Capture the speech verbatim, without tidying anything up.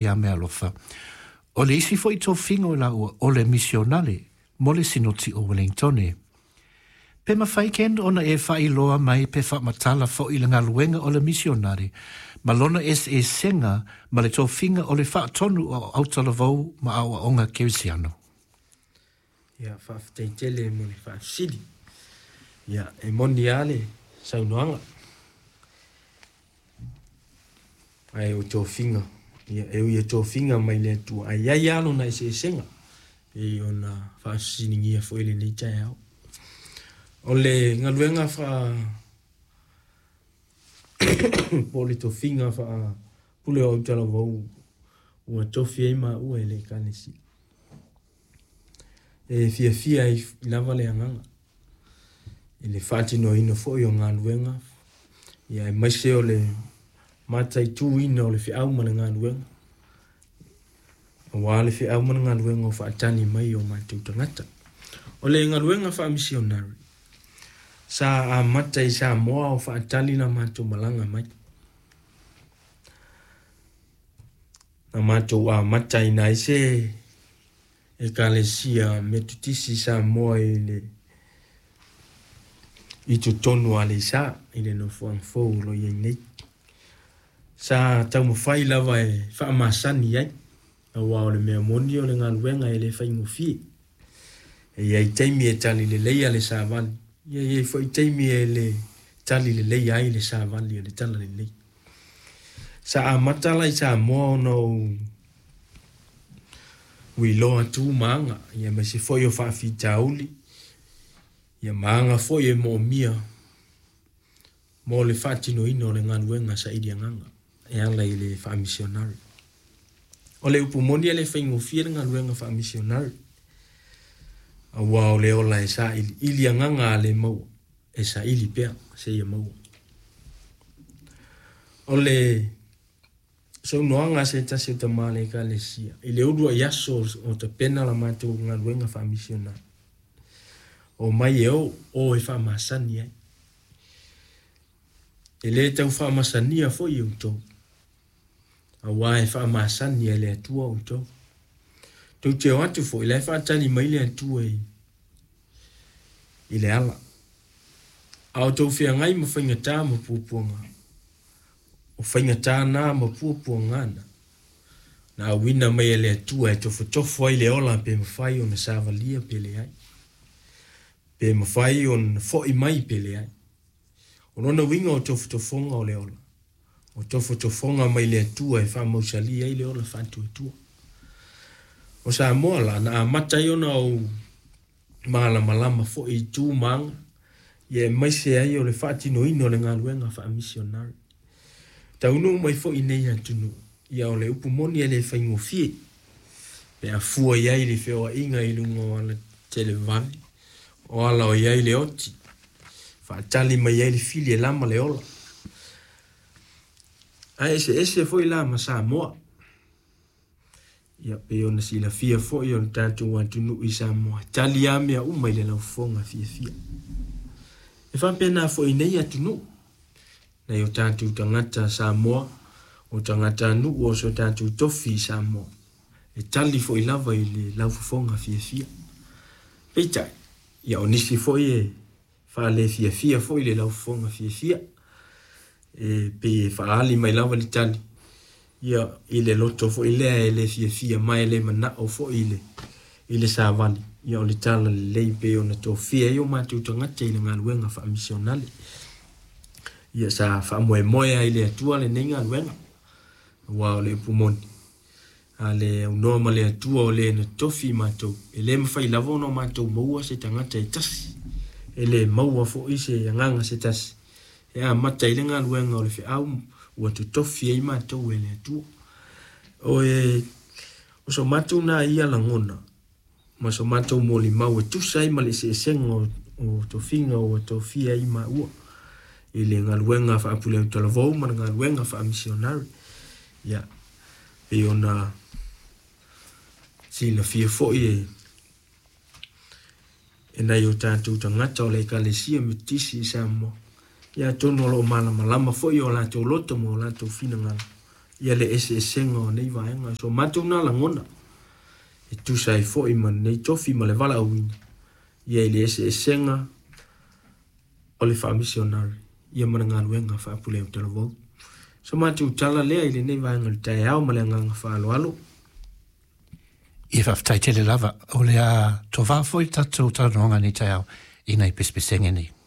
Ia meaalofa. O le isi fo'i tofiga o laua o le misionale mo le Sinoti o Wellingtone. Pe mafai Ken ona e faailoa mai pe faamatala fo'i le galuega o le misionare ma lona eseesega ma le tofiga o le faatonu o autalavou ma aoaoga kerisiano. Ia, faafetai tele mo le faafesili. Ia, e moni lava le saunoaga. Ae o tofiga, ia, e ui e tofiga mai le Atua, ae i ai lava lona eseesega, pei ona faafesiligia foi i lenei taeao. O le galuega faa po o le tofiga faa pule o autalavou ua tofi ai maua e le Ekalesia. E fiafia ai lava le agaga i le faatinoina foi o galuega, ia aemaise o le mataituina o le feau ma le galuega, aua le feau ma le galuega o faatali mai o matou tagata. O le galuega faamisionare sa amata i Samoa o faatali la matou malaga mai. Na matou amataina ai se Ekalesia Metotisi i Samoa i le i totonu o Aleisa i le nofoaga fou o lo o i ai nei. Sa taumafai lava e faamasani ai, aua o le mea moni o le galuega e le faigofie. E i ai taimi e tali leleia le savali, ia e i ai foi taimi e le tali leleia ai le savali o le talalelei. Sa amata la i Samoa ona ou uiloa tu ma aga, ia aemaise foi o faafitauli, ia ma aga foi e moomia mo le faatinoina o le galuega saili agaga e ala i le faamisionare. O le upu moni e le faigofie le galuega faamisionare, aua o le ola e sailiili agaga a le maua, e saili pea seia maua. O le saunoaga a se tasi o tama a le Ekalesia i le uluai aso o tapena la matou galuega faamisionare, o mai e o, o e faamasani ai. E le tau faamasania foi outou, aua e faamasani e le Atua outou. Tou te o atu foi, la e faatali mai le Atua i, i le ala. A o tou feagai ma faigata ma puapuaga, o faigata na ma puapuaga na, na auina mai e le Atua e tofotofo ai le ola pe mafai ona savalia pe leai, pe mafai ona fo'i mai pe leai. O lona uiga o tofotofoga o le ola, o tofotofoga mai le Atua e faamausali ai le ola faatuatua. O Samoa la, na amata ai ona ou malamalama foi i tu ma aga, ia aemaise ai o le faatinoina o le galuega faamisionare. Taunuu mai foi i nei atunuu, ia o le upu moni e le faigofie, pe a fua i ai le feoaiga i luga o ala televave, o ala o i ai le oti, faatali mai ai le fili e lama le ola. Ae eseese foi la ma Samoa. Ia pei ona silafia foi o le tatou atunuu i Samoa, tali lava mea uma i le laufofoga fiafia. E faapena foi i nei atunuu, nai o tatou tagata Samoa, o tagatanuu o so tatou tofi i Samoa, e tali foi lava i le laufofoga fiafia. Peitai, ia o nisi foi e faalefiafia foi le laufofoga fiafia, e pei e faaali mai lava le tali, ia i le loto foi lea e le fiafia ma e le manao foi i le, i le savali. Ia o le tala lelei pei ona tofia ai o matou tagata i le galuega faamisionale. Ia sa faamoemoe ai le Atua lenei galuega, aua o le upu moni, a le aunoa ma le Atua o le na tofi matou, e le mafai lava ona matou maua se tagata e tasi, e le maua foi se agaga se tasi, e amata i le galuega o le feau ua totofi ai matou e le Atua. O e o so matou na ia lagona ma so matou molimau e tusa ai ma le eseesega o, o tofiga ua tofia ai maua i le galuega faapule autalavou ma le galuega faamisionare. Ia, pei ona silafia foi e e nai o tatou tagata o le Ekalesia Metotisi i Samoa, ia atonu o lo o malamalama foi o latou loto ma o latou finagalo Ia le eseesega o nei vaega. So matou na lagona e tusa ai fo'i ma lenei tofi ma le valaauina ia i le eseesega o le faamisionari ia ma le galuega faapulea talavou. So matou tala lea i lenei vaega o le taeao ma le agaga faaaloalo. Ia faafetai tele lava o le a tovā foi tatou talanoaga nei taeao i nai pesepesega nei.